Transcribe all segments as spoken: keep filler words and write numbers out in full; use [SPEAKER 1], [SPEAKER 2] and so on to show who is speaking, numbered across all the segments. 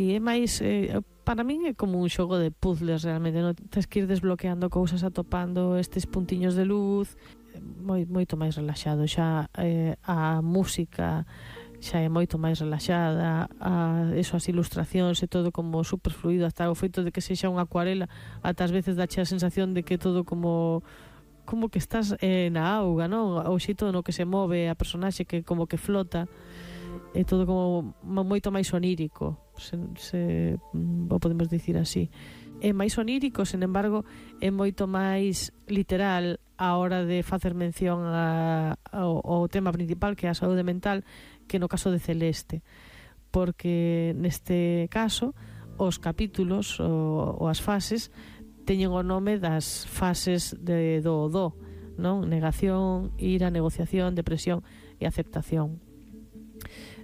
[SPEAKER 1] E é máis, eh, para min é como un xogo de puzzles realmente, non? Tens que ir desbloqueando cousas, atopando estes puntiños de luz, moi, moito máis relaxado. Xa eh, a música xa é moito máis relaxada, a, eso, as ilustracións e todo como super fluido, hasta o feito de que sexa unha acuarela, ata as veces dache a sensación de que todo como como que estás eh, na auga, non? O xeito no que se move a personaxe, que como que flota, é todo como moito máis onírico, se, se o podemos dicir así. É máis onírico, sen embargo, é moito máis literal a hora de facer mención a, ao, ao tema principal, que é a saúde mental, que no caso de Celeste, porque neste caso os capítulos ou, ou as fases teñen o nome das fases de, do do, non? Negación, ira, negociación, depresión e aceptación.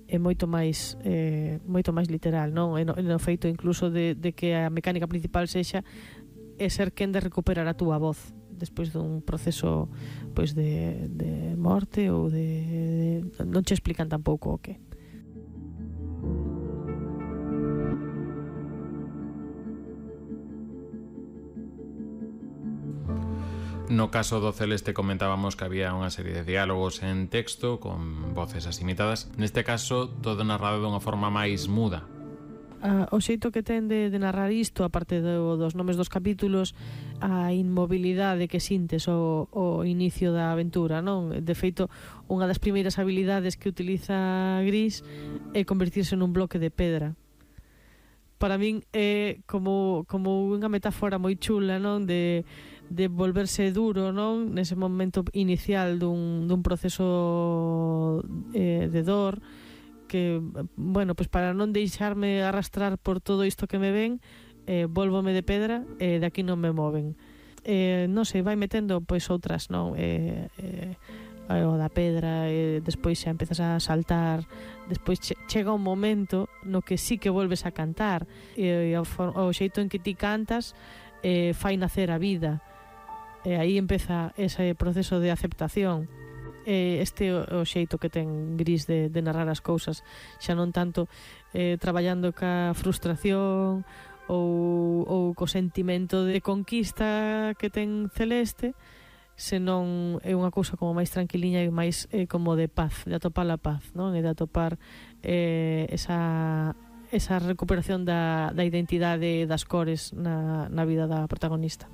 [SPEAKER 1] É moito máis eh, moito máis literal, non? É no, no feito incluso de, de que a mecánica principal sexa é ser quen de recuperar a túa voz despois dun proceso pois de, de morte ou de, de non che explican tampouco o que.
[SPEAKER 2] No caso do Celeste comentábamos que había unha serie de diálogos en texto con voces así imitadas. Neste caso, todo narrado dunha forma máis muda.
[SPEAKER 1] Ah, o xeito que ten de, de narrar isto, aparte do, dos nomes dos capítulos, a inmobilidade que sintes o, o inicio da aventura, non? De feito, unha das primeiras habilidades que utiliza Gris é convertirse nun bloque de pedra. Para min é como, como unha metáfora moi chula, non? De, de volverse duro, non? Nese momento inicial dun, dun proceso eh, de dor, que, bueno, pues para non deixarme arrastrar por todo isto que me ven, eh, volvome de pedra e eh, de aquí non me moven. Eh, non sei, vai metendo pois outras, non? Eh, eh, o da pedra, e despois xa empezas a saltar, despois che, chega un momento no que sí que volves a cantar, e, e o, o xeito en que ti cantas eh, fai nacer a vida, e aí empeza ese proceso de aceptación. E este o, o xeito que ten Gris de, de narrar as cousas, xa non tanto eh, traballando ca frustración ou, ou co sentimento de conquista que ten Celeste, senón é unha cousa como máis tranquiliña e máis eh, como de paz, de atopar a paz, non? E de atopar eh, esa, esa recuperación da, da identidade das cores na, na vida da protagonista.